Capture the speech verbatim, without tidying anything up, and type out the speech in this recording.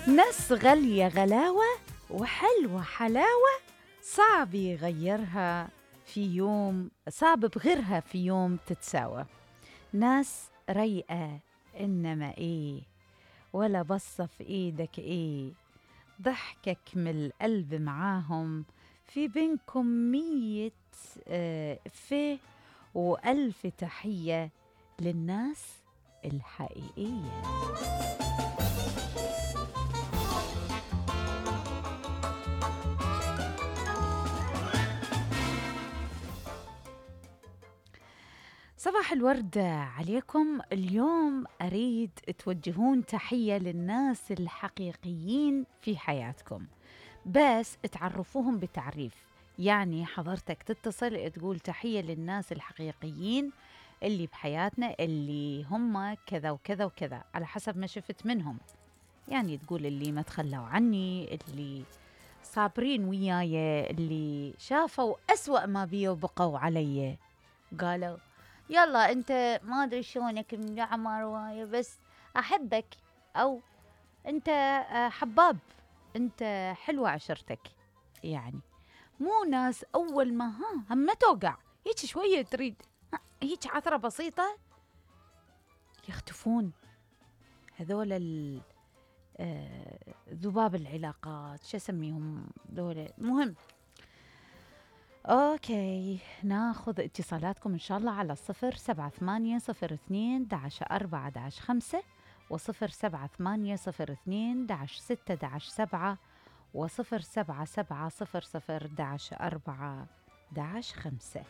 ناس غالية غلاوة وحلوة حلاوة، صعب يغيرها في يوم، صعب بغيرها في يوم تتساوى. ناس رايقة إنما إيه، ولا بصة في إيدك إيه، ضحكك من القلب معاهم، في بينكم مية آه فيه وألف تحية للناس الحقيقية. صباح الورد عليكم. اليوم أريد توجهون تحية للناس الحقيقيين في حياتكم، بس تعرفوهم بتعريف. يعني حضرتك تتصل تقول تحية للناس الحقيقيين اللي بحياتنا، اللي هم كذا وكذا وكذا على حسب ما شفت منهم. يعني تقول اللي ما تخلوا عني، اللي صابرين وياي، اللي شافوا أسوأ ما بي وبقوا علي، قالوا يلا انت ما ادري شلونك من عمر واي بس احبك، او انت حباب، انت حلوة عشرتك. يعني مو ناس اول ما ها هم توقع هيك شوية تريد هيك عثرة بسيطة يختفون. هذول ذباب العلاقات، شو اسميهم ذول. مهم اوكي، ناخذ اتصالاتكم ان شاء الله على الصفر سبعة ثمانية صفر اثنين داش أربعة داش خمسة وصفر سبعة ثمانية صفر اثنين داش ستة داش سبعة وصفر سبعة سبعة صفر صفر داش أربعة داش خمسة.